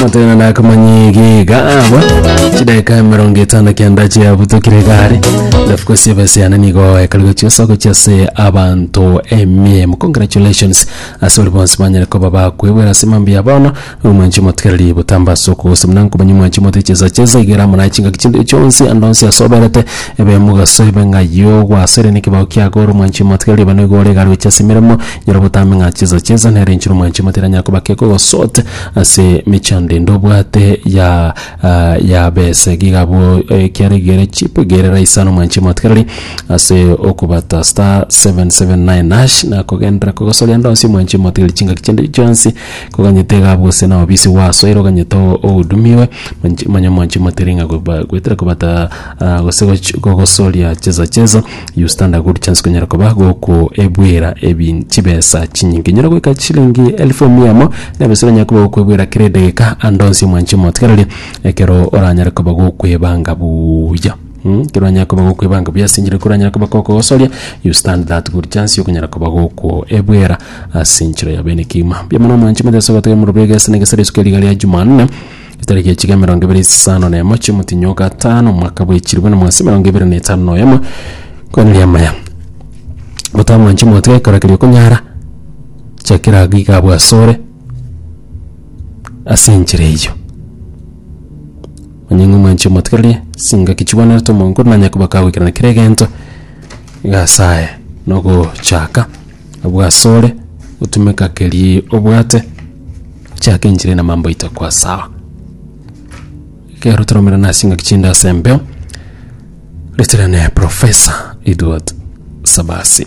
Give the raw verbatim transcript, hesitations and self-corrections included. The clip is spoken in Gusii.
Motena nakomanyigiga aba chidakika emerongo etano kianda chiabutokire gare. Of course, ebese yane nigo ekarigo chiosoko chiase abanto emiemo. Congratulations ase ori bonsi banyare koba bakwebwera ase mambi ya bono. Omwanchi motigereri botamba ase okogosoma na nkomanya omwanchi mote chesa chesa igera amo naye chingaki chinde chionsi ande onsi ase oberete ebe mogaso ebe ng'ayio gwasore nekebao kiago ore omwanchi motigereri ebe nigo ore egari gochia ase emeremo nyora botambe ng'a chesa chesa nere enchera omwanchi motere anyare koba kekogosote ase mechando ende obwate ya ah, ya bese gigabwo ekiare chip gere raisano omwanchi motigereri ase okobata star seven seven nine hash na kogendera kogosoria ande onsi omwanchi motigereri chingaki chinde chionsi koganyete gabwo gose na obisi wasoire oganyete ohudumiwe. Manya omwanchi motigereri ng'a goba- gwetera kobata ah, gose goch- gogosoria cheza cheza, you stand a good chance konyara koba goko ebwera ebi chibesa chinyinge nyora goika chilingi elfu emiamo nebesa oranyare koba gokwebwera kera edagika ande onsi omwanchi motigereri ekero oranyare koba gokwebanga buya. Mm, ekero oranyare koba gokwebanga buya ase enchera koranyare koba kokogosoria, you stand that good chance yokonyara koba goko ebwera ase enchera ya bene kima. Mbuya mono omwanchi mote gotega morobega ase negesere isuka riga ria Jumanne itariki echiga emerongo ebere isano na emo chi'omotinyo gatano omwaka bw'echiribwe na mwasi emerongo ebere na etano na oyemo kweneria amaya botamwanchi motiga ekero keria okonyara chakera giga bwasore ase enchera eyio onye ng'a omwanchi omotigererie singaki chibwenerete omonkuru nanya koba kagoikerana kera egento gasaye nogochaka bwasore otumeka keri obwate chaka enchera na mambo itakuwa sawa. Kero toromerana ase ngaki chinde ase embeo reterane Professor Edward Sabasi.